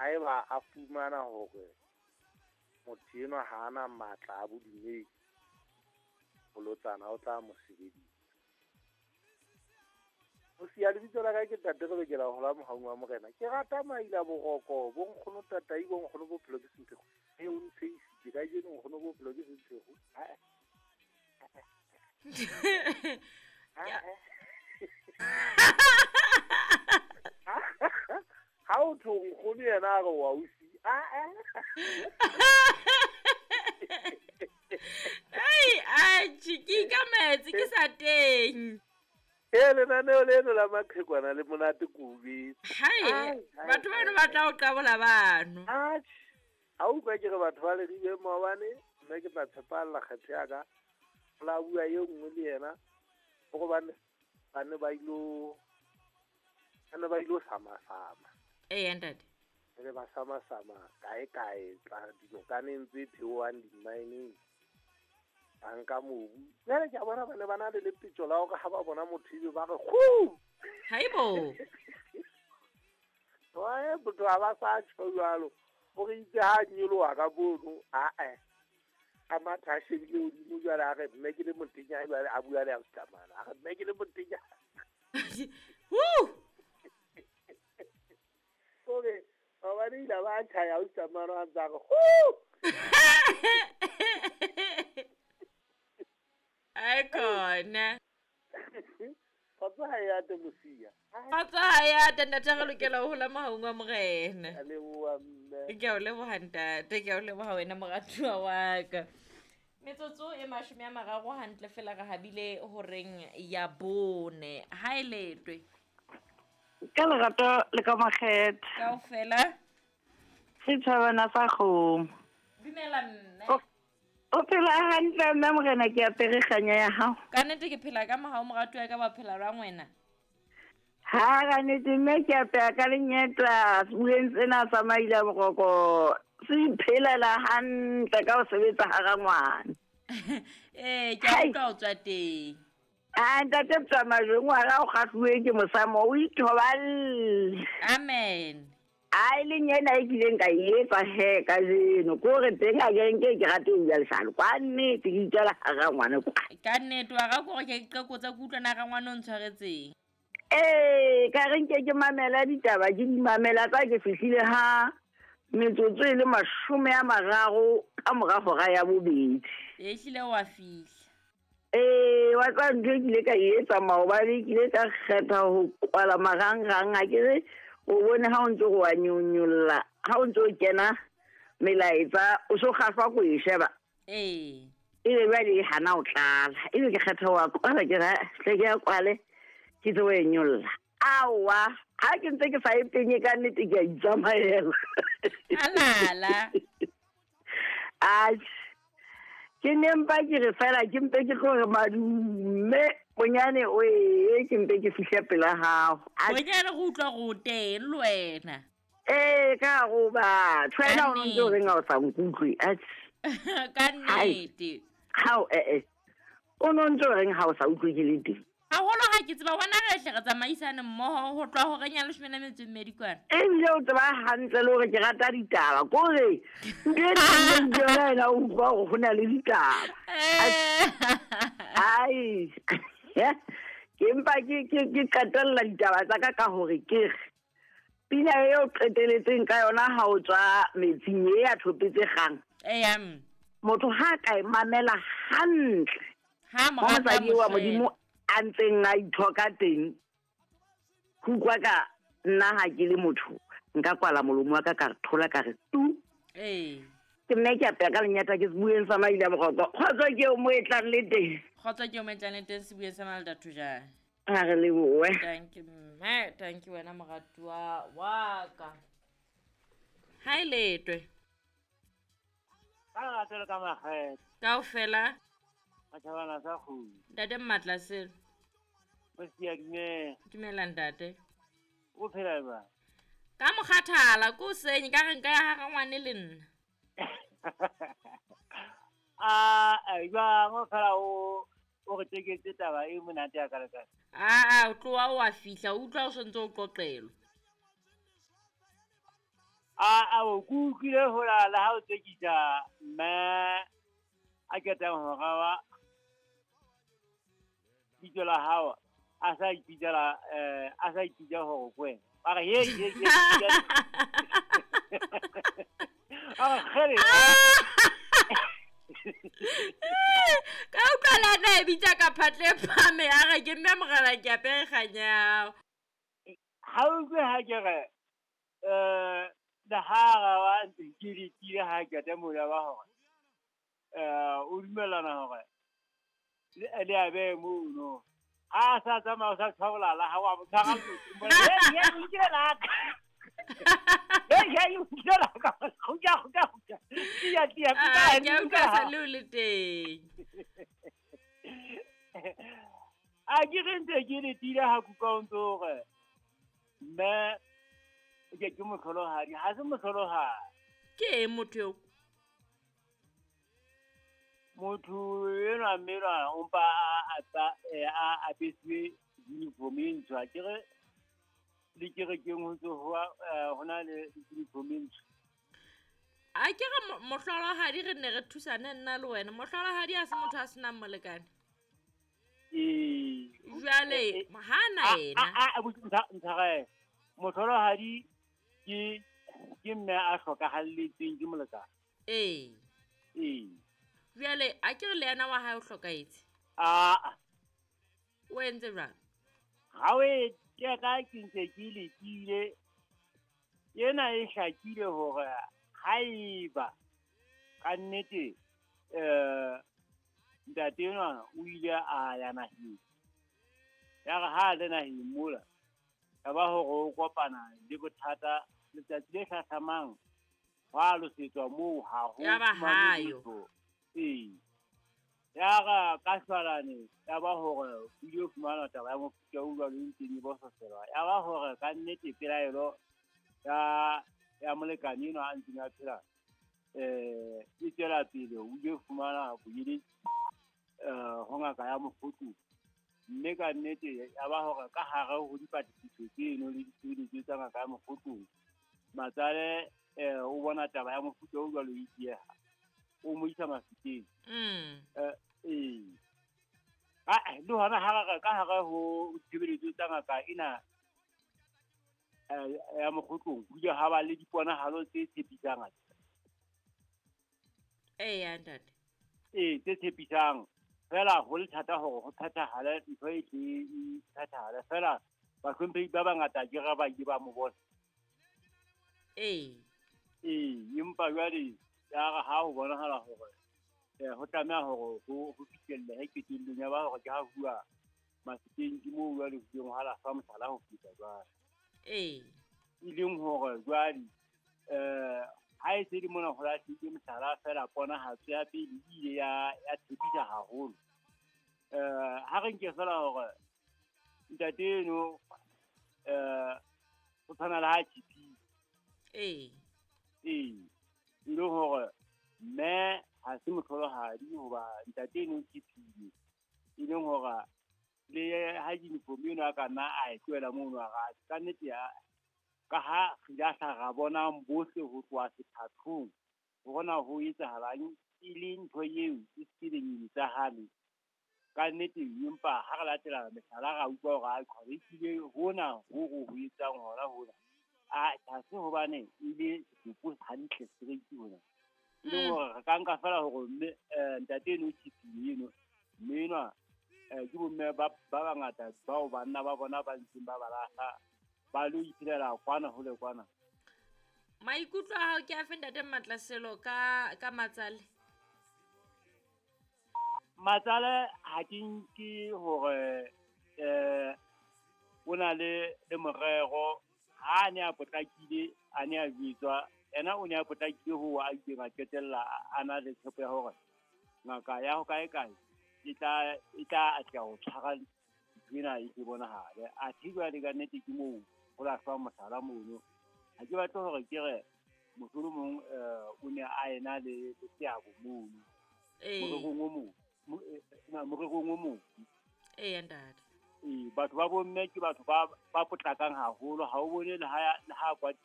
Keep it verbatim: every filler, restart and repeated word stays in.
Haeba a fumana hore motho enwa ha ana matla a bodumedi, bolotsana o tla mo sebedisa. O siya lebitso la ka ke Ntate re lokela ho la mohaung wa Morena. Ke rata maila boroko, bo nkgono tatai, bo nkgono bophelo ke semphego. E o ntsheisitse kajeno nkgono bophelo ke semphego. Ha o tho nkgono yena a re wa o si. Ai, atjhe, ke ikametse ke sa teng. E lenaneo leno la maqhekwana le monate kubi. Hai, batho bano ba tla o qabola bano. Atjhe, ha utlwa ke re batho ba Leribe maobane, mme ke tla tshepalla kgetho ya ka. La bua e nngwe le yena, hobane ba ne ba ilo, ba ne ba ilo sama-sama. Ee, ntate. Ba ne ba sama-sama kae kae, tla dinokaneng tse theohang di-mineng. Ba nka mobu. Jwale ke a bona ba ne ba na le lepetjo la hore ha ba bona motho ebe ba re kgu. Haibo. Wa motho ha ba sa tjho jwalo. O re itse ha nyoloha ka mono, a-eh. A matha a shebile hodimo jwale a re mme ke le motenya jwale a bua le a Mostamana. A re mme ke le motenya. Woo! Kore maobane ile ba tjhaya Mostamana a ntse a re kgu. Ai khona. Kgotso ha e ate mosia. Kgotso ha e ate ntate re lokela ho hola mohaung wa Morena. A leboha mme. Ke a o leboha ntate, ke a o leboha wena moratuwa wa ka. Metsotso e mashome a mararo hantle fela re habile horeng ya bone. Ha e letwe. Ka lerato le ka makgethe. Kaofela. Setjhabana sa kgomo. Dumela mme. O phela hantle mme Morena ke apere kganya ya hao. Ka nnete ke phela ka mohau moratuwa ka ba phela jwang wena? Ha ka nnete mme ke apeya ka lenyeta sebueng sena sa maila boroko. Se iphelela hantle ka ho sebetsa hara ngwana. Eh, ke a utlwa o tswa teng. Ah, ntate Tsamajwe ngwana o kgahluwe ke mosamo o ithoballe. Amen. Ai le nyena e kileng ka e etsa he kajeno ko re teng a ke nke ke rate ho bua leshano kwa nnete ke itswela hara ngwana kwa. Ka nnete wa ga gore ke qekotsa ke utlwana ga ngwana o ntshwaretseng. Ee, ka re nke ke mamela ditaba ke di mamela tsa ke fihlile ha metsotso e le mashome a mararo ka mora hora ya bobedi. E hlile wa fihla. Ee, wa tseba ntho e kile ka e etsa maobane, ke ile ka kgetha ho kwala marangrang a ke re o bone ha o ntso go wa nyonyolla, ha o ntso kena melaetsa o so kgahlwa ko e sheba. Ee. Ebe jwale e hana o tlala. Ebe ke kgetha wa kwala ke re hle ke ya kwale ke tlo e nyolla. Aowa, ha ke ntse ke sa e penye ka nnete ke a itsamaela. Alala. Atjhe. Ke ne mpa ke re fela ke mpe ke tlo re madume bonyane o e ke mpe ke fihle pela hao. Bonyane go utlwa go teng le wena. Ee, ka go batho. Wena o ntse o reng ha o sa nkutlwe. Atjhe. Ka nnete. Hao eh eh. O no ntse o reng ha o sa utlwe ke le teng. Haholo ha ke tseba hona re hle re tsamaisane mmoho ho tloha horeng ya leshome le metso e mmedi kwana. Ebile o tseba hantle le hore ke rata ditaba. Kore ntho e teng ke yona ena o utlwa hore ho na le ditaba. Ai. Ke mpa ke ke ke qetella ditaba tsa ka ka hore ke re pina eo qeteletseng ka yona ha o tswa metsing e ya thopetse kgang. Eya. Motho ha ka e mamela hantle. Ha morata wa Modimo a ntseng a ithoka teng. Ho utlwa ka nna ha ke le motho nka kwala molomo wa ka ka re thola ka re tu. Ee. Ke nne ke apeya ka lenyata ke sebueng sa maila boroko. Kgotso ke o mo e tlang le teng. Kgotso ke o mo e tlang le teng sebueng sa maila Thojane. Ha re lebohe. Thank you mme, thank you wena moratuwa wa ka. Ha e letwe. Ka lerato le ka makgethe. Kaofela. Matjhabana sa kgomo. Ntate Mmatlaselo. Mosia dumela. Dumela ntate. O phela jwang? Ka mokgathala ko senye ka re nka ya hara ngwane le nna. Ah, jwang o phela o o re teketse taba e monate ya kalekale. Ah, o tloha o a fihla, o utlwa o sontse o qoqelwa. A a o kutlwile hola le ha o tsekisa mme a ketang ho rawa bitso la hao a sa ipitsela eh a sa ipitsa hore ke wena. Ba re he he he. A re kgele. Ka utlwa le ana e bitsa ka phatle phame a re ke mme mogala ke apere kganyao. Ha o utlwe ha ke re eh le ha ra wa ntse ke letile ha ke te mola wa hore eh o dumellana hore le le a be mono. Ha sa tsamaya o sa tshwabolala ha wa mo tshwara motho. He he o nkile la ka. He he o nkile la ka. Kgutla kgutla kgutla. Tia tia Ah, ke a utlwa sa le o le teng. A ke re ntse ke letile ha kuka o ntso hore mme ke ke mohlolohadi, ha se mohlolohadi. Ke eng motho eo? Motho enwa mme enwa o mpa a a apeswe uniform e ntsho. Akere le kerekeng ho ntso ho ho na le uniform e ntsho. A ke re mohlolohadi re ne re thusane nna le wena. Mohlolohadi ha se motho a senang molekane. Ee. Jwale ha na yena. A a ntshare. Mohlolohadi ke ke mme a hlokahalletsweng ke molekane. Ee. Ee. Jwale a ke re le yena wa hae o hlokahetse? Ah. O entse jwang? Ha o e teka ke ntse ke lekile. Ena e hlakile hore haeba ka nnete eh ntate enwa o ile a ya naheng. Ya re ha a le naheng mola, ya ba hore o kopana le bothata letsatsi le hlahlamang hwa losetswa moo ha ho Ya ba fumanwe hayo. letho. Ee. Ya re ka shwalane ya ba hore o ile fumana taba ya mofuta o jwalo e ntseng e bososelwa. Ya ba hore ka nnete pelaelo ya ya molekane enwa a ntseng a phela eh e tswela pele, o ile fumana boeletsi eh ho ngaka ya mokgothu. Mme ka nnete ya ba hore ka hare ho dipatlisiso tseno le ditshebeletso tsa ngaka ya mokgothu, matsale eh o bona taba ya mofuta o jwalo e dieha, o mo isa Mafikeng. Mm. Eh ee. Ah, le hona ha re ka hare ho ditshebeletso tsa ngaka ena eh ya mokgotlong, ho ile ha ba le diponahalo tse tshepisang. Eya ntate. Ee, tse tshepisang. Fela ho le thata hore ho phethahale ntho e tle e phethahale. Fela bahlomphehi ba bangata ke re ba ile ba mo bona. Ee. Ee, empa jwale ya re ha ho bonahala hore eh ho tlameha hore ho ho fihlelle qetellong ya ba hore ke ha huwa Mafikeng, ke moo jwale ho ileng ha lahlwa mohlala ho feta jwale. Ee. E leng hore jwale eh ha e se le mona ho lahlile mohlala fela ponahatso ya pele e ile ya ya tshepisa haholo. Eh ha re nke fela hore ntate eno eh o tshwana le ha tshepile. Ee. Ee. E le hore mme ha se mohlolohadi hoba ntate eno o tshepile. E leng hore le ha uniform eno a ka nna a e tlohela mono a re ka nnete ya ka ha re ile hla ra bona bohle ho tloha sethathong hore na ho etsahalang e le ntho eo e se etsahale. Ka nnete empa ha re latela mehlala ra utlwa hore a qhwabe ehlile hona ho ho ho etsang hona hona. A ha se hobane e le setopo hantle straight hona. E leng hore re ka nka fela hore mme ntate eno o tshepile eno, mme enwa eh ke bomme ba ba bangata bao banna ba bona ba ntseng ba ba lahla ba lo iphelela kwana hole kwana. Maikutlo a hao ke afe ntate Matlaselo ka ka matsale? Matsale ha ke nke hore eh o na le le morero. Ha a ne a potlakile, a ne a jwetswa, yena o ne a potlakile ho a ileng a qetella a na le tshepo ya hore ngaka ya ho kae kae e tla e tla atleha ho tshwara ntho ena e ke bonahale. Athe jwale ka nnete ke moo ho lahlwa mohlala mono. Ha ke batle hore ke re mohlolomong eh o ne a ena le le seabo mono. Ee. Morerong o mong. Morerong o mong. Eya ntate. Ee, batho ba bomme ke batho ba ba potlakang haholo. Ha o bone le ha le ha kwatile